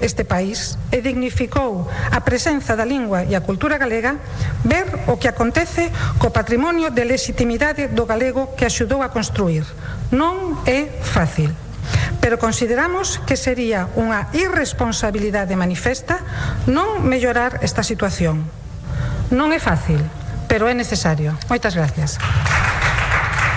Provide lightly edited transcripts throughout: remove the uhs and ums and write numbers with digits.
este país e dignificou a presenza da lingua e a cultura galega, ver o que acontece co patrimonio de legitimidade do galego que axudou a construir. Non é fácil, pero consideramos que sería unha irresponsabilidade manifesta non mellorar esta situación. Non é fácil, pero é necesario. Moitas gracias.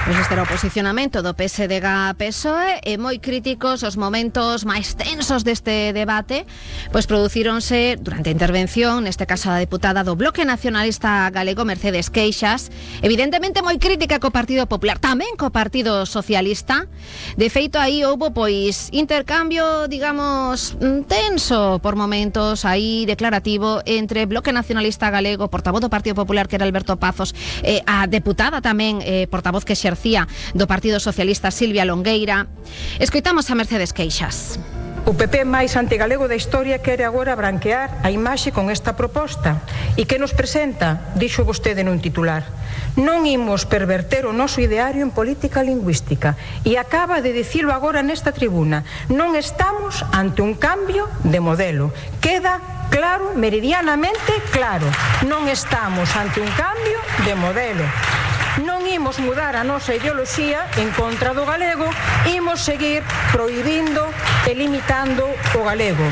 Pois este era o posicionamento do PSDG-PSOE e moi críticos os momentos máis tensos deste debate, pois producíronse durante a intervención, neste caso a deputada do Bloque Nacionalista Galego, Mercedes Queixas, evidentemente moi crítica co Partido Popular, tamén co Partido Socialista. De feito, aí houbo pois intercambio, digamos, tenso por momentos, aí declarativo, entre Bloque Nacionalista Galego, portavoz do Partido Popular, que era Alberto Pazos, a deputada tamén, portavoz que exercía do Partido Socialista, Silvia Longueira. Escoitamos a Mercedes Queixas. O PP máis antigalego da historia quere agora branquear a imaxe con esta proposta. E que nos presenta? Dixo vostede nun titular: non imos perverter o noso ideario en política lingüística. E acaba de dicilo agora nesta tribuna. Non estamos ante un cambio de modelo. Queda claro, meridianamente claro. Non estamos ante un cambio de modelo. Non imos mudar a nosa ideoloxía en contra do galego, imos seguir prohibindo e limitando o galego.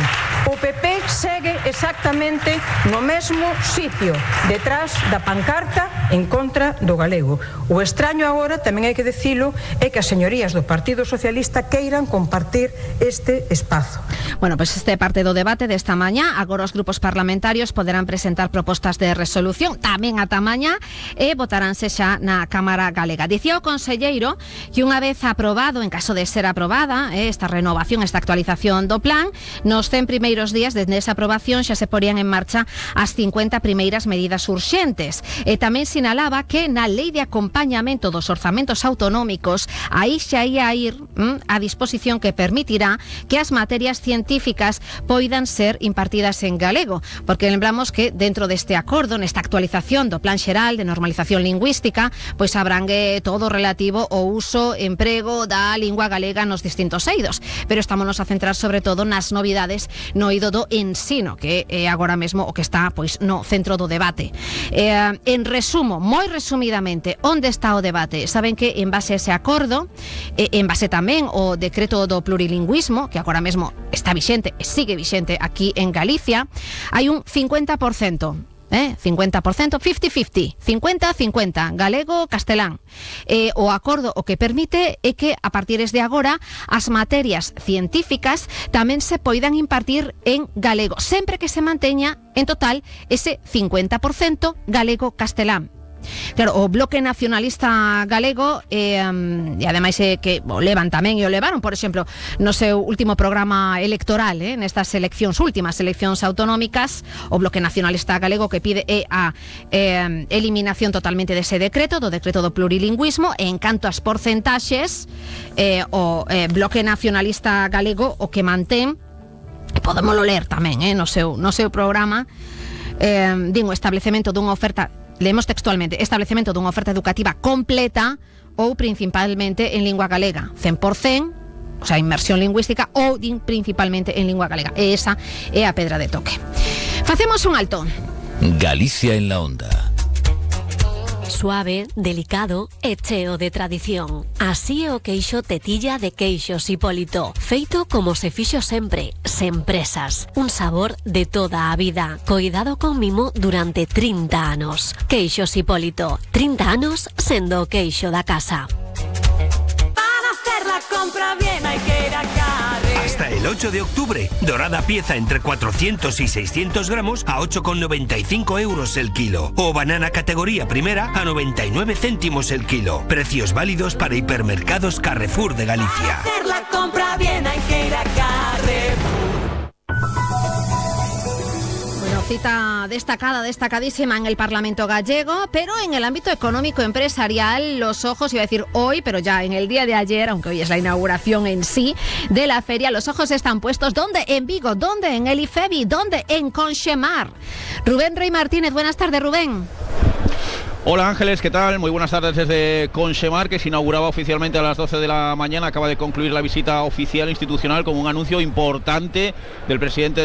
O PP segue exactamente no mesmo sitio, detrás da pancarta en contra do galego. O extraño agora, tamén hai que dicilo, é que as señorías do Partido Socialista queiran compartir este espazo. Bueno, pois este parte do debate desta mañá. Agora os grupos parlamentarios poderán presentar propostas de resolución tamén ata mañá e votaránse xa na Cámara Galega. Dicía o conselleiro que unha vez aprobado, en caso de ser aprobada, esta renovación, esta actualización do plan, nos 100 primeiros días desde esa aprobación xa se porían en marcha as 50 primeiras medidas urxentes. E tamén sinalaba que na lei de acompañamento dos orzamentos autonómicos aí xa ia ir a disposición que permitirá que as materias científicas poidan ser impartidas en galego, porque lembramos que dentro deste acordo, nesta actualización do Plan Xeral de Normalización Lingüística, pois abrangue todo relativo ao uso, emprego da lingua galega nos distintos eidos, pero estámonos a centrar sobre todo nas novidades no eido do ensino, que é agora mesmo o que está pois no centro do debate. En resumo, moi resumidamente, onde está o debate? Saben que en base a ese acordo, en base tamén ao decreto do plurilingüismo, que agora mesmo está vixente e sigue vixente aquí en Galicia, hai un 50%. 50%, 50-50, 50-50, galego-castelán. O acordo o que permite é que a partir de agora as materias científicas tamén se poidan impartir en galego, sempre que se manteña en total ese 50% galego-castelán. Claro, o Bloque Nacionalista Galego e ademais que o levan tamén e o levaron, por exemplo, no seu último programa electoral, nestas últimas eleccións autonómicas, o Bloque Nacionalista Galego que pide a eliminación totalmente dese decreto, do decreto do plurilingüismo, e en canto ás porcentaxes, o Bloque Nacionalista Galego o que mantén, podémolo ler tamén no seu programa, o establecemento dunha oferta, leemos textualmente, establecemento dunha oferta educativa completa ou principalmente en lingua galega, 100%, o sea, inmersión lingüística ou principalmente en lingua galega. E esa é a pedra de toque. Facemos un alto. Galicia en la onda. Suave, delicado e cheo de tradición. Así é o queixo tetilla de Queixos Hipólito, feito como se fixo sempre, sen presas. Un sabor de toda a vida, coidado con mimo durante 30 anos. Queixos Hipólito, 30 anos sendo o queixo da casa. Para hacer la compra bien hay que ir a Carre. Hasta el 8 de octubre, dorada pieza entre 400 y 600 gramos a 8,95 euros el kilo. O banana categoría primera a 99 céntimos el kilo. Precios válidos para hipermercados Carrefour de Galicia. Para hacer la compra bien hay que ir a Carrefour. Cita destacadísima en el Parlamento gallego, pero en el ámbito económico empresarial, los ojos, iba a decir hoy, pero ya en el día de ayer, aunque hoy es la inauguración en sí de la feria, los ojos están puestos ¿dónde? En Vigo, ¿dónde? En el IFEBI, ¿dónde? En Conxemar. Rubén Rey Martínez, buenas tardes, Rubén. Hola Ángeles, ¿qué tal? Muy buenas tardes desde Conxemar, que se inauguraba oficialmente a las 12 de la mañana. Acaba de concluir la visita oficial institucional con un anuncio importante del presidente